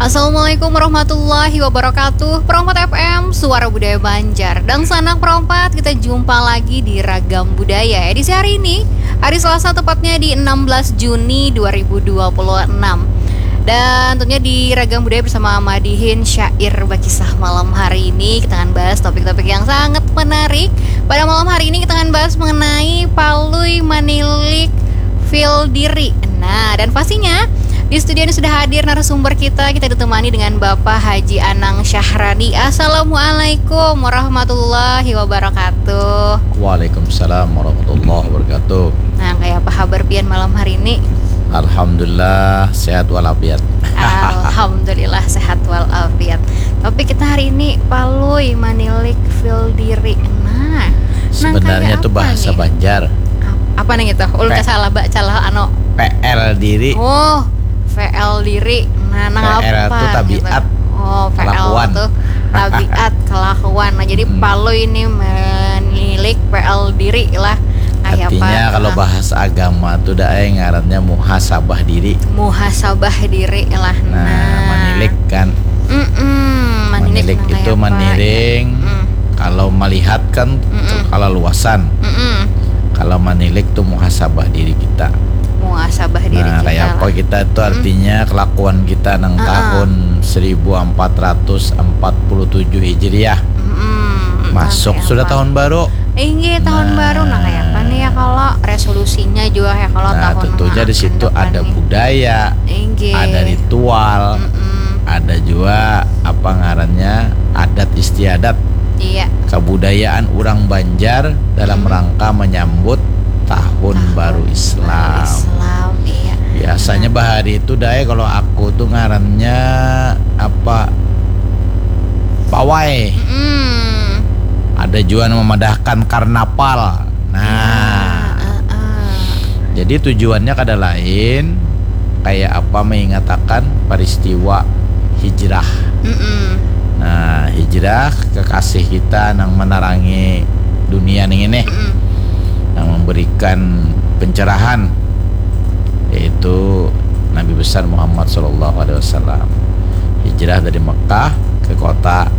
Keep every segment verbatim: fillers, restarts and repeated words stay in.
Assalamualaikum warahmatullahi wabarakatuh. Perompat F M, Suara Budaya Banjar. Dan sanak perompat, kita jumpa lagi di Ragam Budaya edisi hari ini, hari Selasa, tepatnya di enam belas Juni dua ribu dua puluh enam. Dan tentunya di Ragam Budaya bersama Madihin, syair bakisah malam hari ini, kita akan bahas topik-topik yang sangat menarik. Pada malam hari ini kita akan bahas mengenai palui manilik feel diri. Nah, dan pastinya di studio ini sudah hadir narasumber kita. Kita ditemani dengan Bapak Haji Anang Syahrani. Assalamualaikum warahmatullahi wabarakatuh. Waalaikumsalam warahmatullahi wabarakatuh. Nah, kayak apa kabar pian malam hari ini? Alhamdulillah, sehat walafiat. Alhamdulillah, sehat walafiat. Topik kita hari ini, palui manilik feel diri. Nah, nang sebenarnya kayak tuh apa bahasa nih? Banjar. Ap-, apa nih gitu? Ulun pe-, kasalah baca lah, anu. P L diri. Oh, P L diri. Nah, nang P L apa tuh gitu? Tabiat. Oh, P L kelakuan. Tuh tabiat, kelakuan. Nah, jadi hmm, palui ini menilik P L diri lah. Kayak artinya apa? Kalau ah, bahasa agama tuh dah, eh, ngarannya muhasabah diri. Muhasabah diri lah. Nah, nah, manilik kan. Mm-mm, manilik. Manilik nang itu kayak apa? Maniring. Mm. Kalau melihat kan, mm-mm, kalaluasan. Mm-mm. Kalau manilik tuh muhasabah diri kita. Muhasabah diri. Nah, kita kayak apa lah. Kita tuh, mm-mm, artinya kelakuan kita nang, heeh, tahun seribu empat ratus empat puluh tujuh Hijriah. Mm-mm. Masuk sudah tahun baru. Inggih, tahun baru. Nah, kayak apa nih ya, kalau resolusinya juga ya, kalau nah, tahun tentunya di situ ada budaya, inggih, ada ritual, mm-mm, ada juga apa ngarannya, adat istiadat. Iya. Kebudayaan urang Banjar dalam, mm-mm, rangka menyambut tahun, tahun baru Islam. Baru Islam, iya. Biasanya, nah, bahari itu, Dai, kalau aku tuh ngarannya apa? Pawai. Mm-mm. Ada jua nang memadahkan karnaval. Nah. Iya, heeh. Jadi tujuannya kada lain, kayak apa mengingatakan peristiwa hijrah. Mm-mm. Nah, hijrah kekasih kita nang menerangi dunia nih ini. Mm-mm. Nang memberikan pencerahan, yaitu Nabi besar Muhammad sallallahu alaihi wasallam. Hijrah dari Mekah ke kota,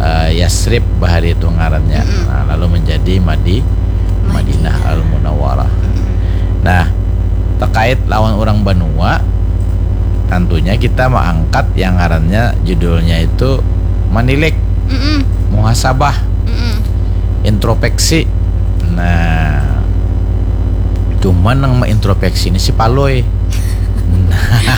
eh, Yasrib bahari itu ngarannya. Mm-mm. Nah, lalu menjadi Madi-, Madinah. Madinah Al-Munawwarah. Mm-mm. Nah, terkait lawan orang banua, tentunya kita mengangkat yang ngarannya, judulnya itu manilik, mm-mm, muhasabah, mm-mm, introspeksi. Nah, cuman nang mengintrospeksi ini si palui.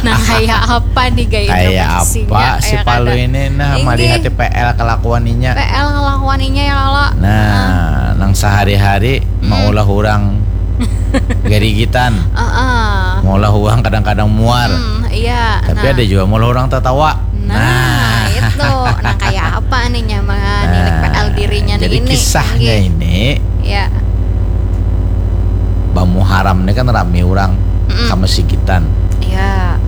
Nah, kayak apa nih gaya introspeksinya? Kayak apa si palui ini? Nah, inggih. Melihat P L kelakuan inya. P L kelakuan inya ya, kalau. Nah, nang sehari-hari, mm-mm, maulah orang garigitan. Heeh. Maulah orang kadang-kadang muar. Hmm, iya. Tapi nah, ada juga maulah orang tertawa. Nah, nah, itu. Nah, kayak apa nih nyaman, nah, P L dirinya nih, jadi ini, kisahnya ini, ya. Bamuharam ini kan rame orang, mm-mm, kamasigitan. Ya.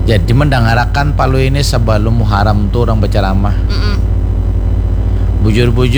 Jadi mendangarakan palui ini sebelum Muharam tuh orang berceramah. Mm-mm. Bujur-bujur